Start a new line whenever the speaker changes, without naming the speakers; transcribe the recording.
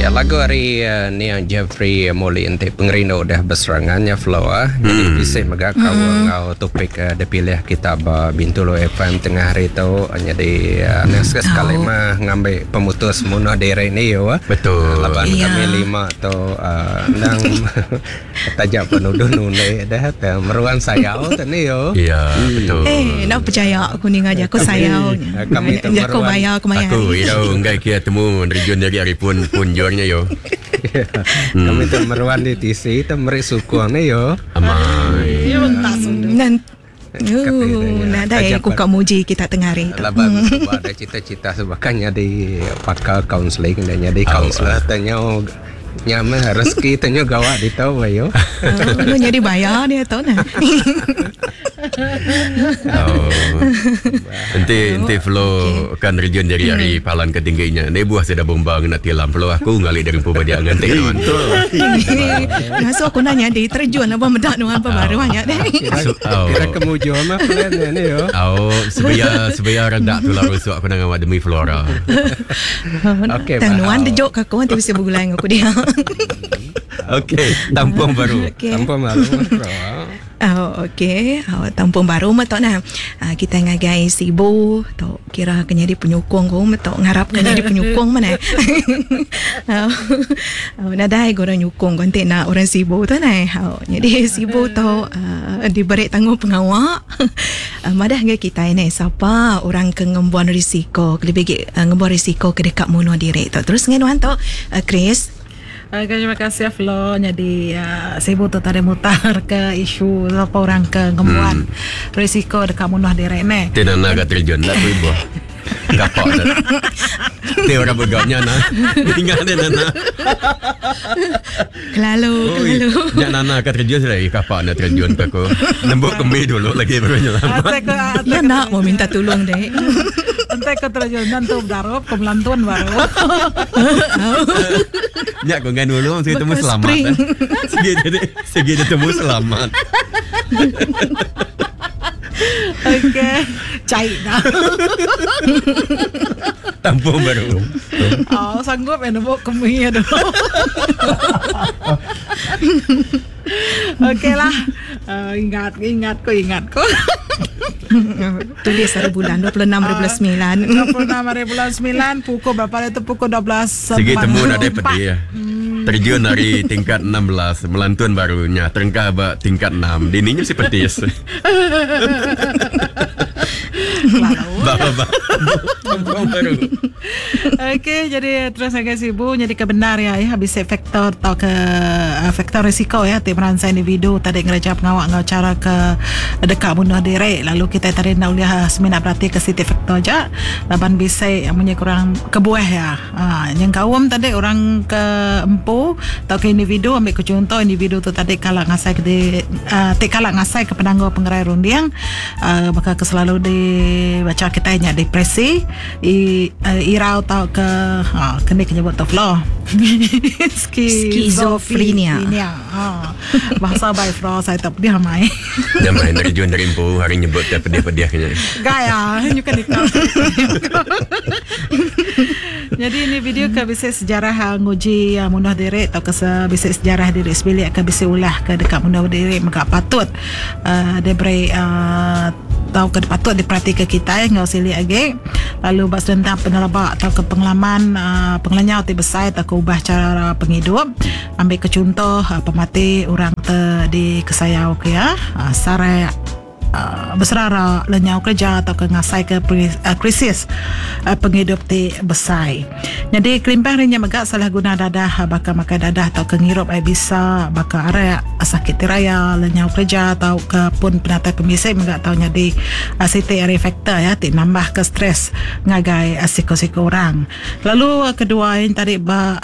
Ya lagu ari nia Jeffrey Muli enti pengerindu udah beserangan nya Flo ah. Jadi bisi mega kaul enggau topik dipilih kita ba Bintulu FM tengah hari tu. Nyadi anang sekali-sekali mah ngambi pemutus munuh diri ni yu ah.
Betul.
Laban kami lima tu endang Taja pun uduh nundi deh te meruan sayau te ni yo.
Ya, betul.
Eh, enda percaya aku ninga jaku sayau nya.
Kami tu
Jaku
meruan.
bayar kemaya
Aku
hari.
irau enggai kia temu nerjun diri ari pun punjur nya yo.
Kami tu meruan di tisi te meri sukung ni yo.
Amai.
Nan Ooh, nadai aku ka muji kita tengah hari tu.
Laban suba da cita-cita suba kan nyadi pakar kaunseling dah nyadi kaunselor te nyau nya meh rezeki te nyau gawa ditu ayu.
Oh, nyadi baya dia tu nah.
Oh. Enti enti Flo kan nerjun diri ari palan ke tinggi nya ni buah sida bomba ngena tilam Flo aku ngali diri empu ba dia nganti nuan.
Ngasuh aku nanya di terjun lebuh meda nuan ba baruh nya deh.
Kira ke mujur mah plan nya ni yo.
Au sebeya sebeya redak tulang rusuk aku nang awak demi Flora.
Okey.
Tang nuan dejuk ke aku enti bisi begulai enggau aku dia.
Okey, tampung baru.
Okey.
Tampung baru Flora.
Oh, okey. Oh, tampung baru meh tu nah. Uh, kita ngagai Sibu tu kira ke nyadi penyukung ku meh tu ngarap ke nyadi penyukung meh nah. oh, oh, nadai ga orang nyukung ku enti nak orang Sibu tu nah. Oh, nyadi Sibu tu uh, diberi tanggung pengawa uh, madah ngagai kitai neh sapa orang ke ngembuan risiko kelebih agi uh, ngembuan risiko ke deka munuh diri tu. Terus ngan nuan tu uh, Chris.
Okay, terima kasih Flo nyadi uh, sibu tu tadi mutar ke isu sapa orang ke ngembuan hmm. risiko deka munuh diri ne.
Ti nana ga terjun lah tu ibu. Kapak dah. Ti orang beganya na. Ingat dia nana.
Kelalu, kelalu.
Nya nana ka terjun sudah eh kapak na terjun ke aku. Nembuk kembi dulu lagi baru nyelamat.
Ya nak mau minta tolong dek.
Entai ko terjun nantu bedarup ko melantun baru.
Nya ko ngan nulung sigi temu
Bekas
selamat.
spring.
Eh. Sigi jadi sigi dia temu selamat.
Okey. Cai dah.
Tampung baru.
Oh, sanggup ya nembuk kemi aduh. Okey lah. Uh, ingat ingat ko ingat ko.
Tulis hari bulan 26 hari bulan 9.
26 hari bulan 9 pukul berapa itu pukul 12.
Sigi temu nadai pedih ya. Terjun ari tingkat 16 melantun baru nya terengkah ba tingkat 6. Dini nya mesti petis. Ba ba ba. Tampung baru.
Okey, jadi terus ngagai sibu nyadi ke bendar ya ya bisi faktor tauka uh, faktor risiko ya ti meransang individu tadi ngereja pengawa enggau chara ke deka munuh diri lalu kitai tadi enda ulih semina berati ke siti faktor aja laban bisi munyi kurang kebuah iya aaa nyengkaum tadi orang ke empu tauka individu ambi ke chunto individu tu tadi kala ngasai ke di aaa ti kala ngasai ke penanggul pengerai runding aaa baka ke selalu di bacha kitai nya depresi i irau tauka aaa ke ni ke nyebut tu flo
Skizofrenia.
Ha. Bahasa bai fro saya tak pedih amai.
Nya meh nerjun dari empu hari nyebut te pedih-pedih nya.
Gaya nyuka nikah. Jadi ini video ke bisi sejarah ah, nguji ah, munuh diri atau ke bisi sejarah diri sebilik ke bisi ulah ke deka munuh diri mega patut uh, diberi uh, tauka patut diperatika kitai enggau silik agi lalu ba senentang peneleba tauka pengalaman uh, pengelenyau ti besai tauka ubah chara pengidup. Ambika chunto, pemati orang te dikesayauka iya, sarak, beserara, lenyau kereja tauka ngasaika krisis pengidup ti besai. Nyadi kelimpah ari nya mega salah guna dadah baka makai dadah tauka ngirup ai bisa baka arak, sakit ti raya, lenyau kereja tauka pun penatai pemisi mega tau nyadi siti ari faktor iya ti nambahka stres ngagai siku-siku orang. Lalu kedua iya tadi ba.